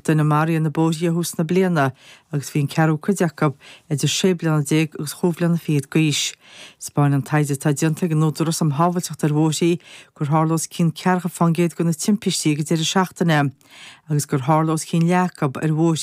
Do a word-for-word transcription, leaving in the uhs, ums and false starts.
duine maraithe ar na bóithre ó thús na bliana agus bhí an ceathrú cuid acu idir sé bliana déag agus chúig bhliana fichead d'aois. 'Spáineann taighde atá déanta ag an Údarás um Shábháilteacht ar Bhóithre gur tharla os cionn ceathracha fán gcéad de na timpistí ag an deireadh seachtaine agus gur tharla os cionn leath acu ar bhóithre